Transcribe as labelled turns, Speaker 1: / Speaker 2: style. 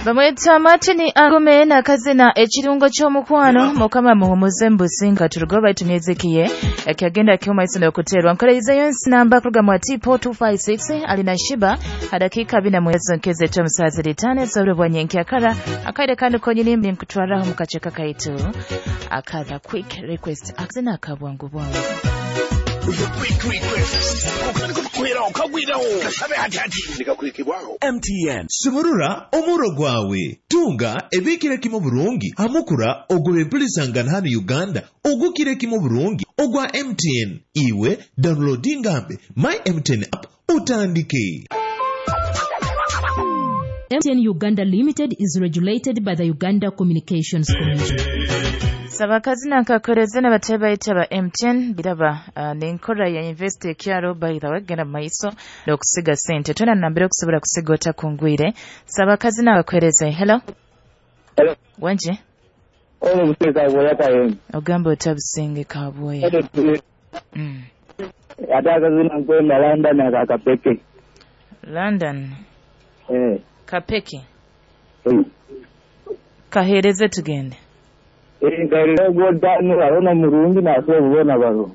Speaker 1: Bamwita Martin Angume n'akazina Ekirungo ky'Omukwano. Mukama muhumuze mbusinga turugo baitu myezikiye ekyagenda kiuma iso n'okuterwa nkoreizeyo nsinamba kuruga mu Tipo 256 alina shiba adakika bina mwezo nkeze tomusazi litane sobwe bwanyenkyakara akaire kandi konyini nkutwaraho mukacheka kaitu akatha quick request akazina akabwangu bwangu.
Speaker 2: The quick request. Okutandika okagwirawo kasabe hati hati nikakwikibwaho
Speaker 3: MTN. Sumurura omuro gwawe tunga ebikire kimu burungi hamukura ogwe empulisangana hano Uganda ogukire kimu burungi ogwa MTN. Iwe downloadingambe my MTN app utandike.
Speaker 4: MTN Uganda Limited is regulated by the Uganda Communications Commission.
Speaker 1: Sabakazina nkakoreze n'abatebaita ba MTN biraba nenkora ya invest ekyaro by the way genda maiso n'okusiga sente tona nambere okusobola kusiga otakungwire. Sabakazina bakwereze. Hello.
Speaker 5: Hello.
Speaker 1: Wenje
Speaker 5: Ono buseka bwoya kayembe.
Speaker 1: Ogamba otabusinge kabwoya.
Speaker 5: Ate akazina nkwenda London akakapeke.
Speaker 1: London.
Speaker 5: Eh.
Speaker 1: Kapeke. Kahereze tugende.
Speaker 5: Nkahereza ogwodano arona murungi nasobola baro.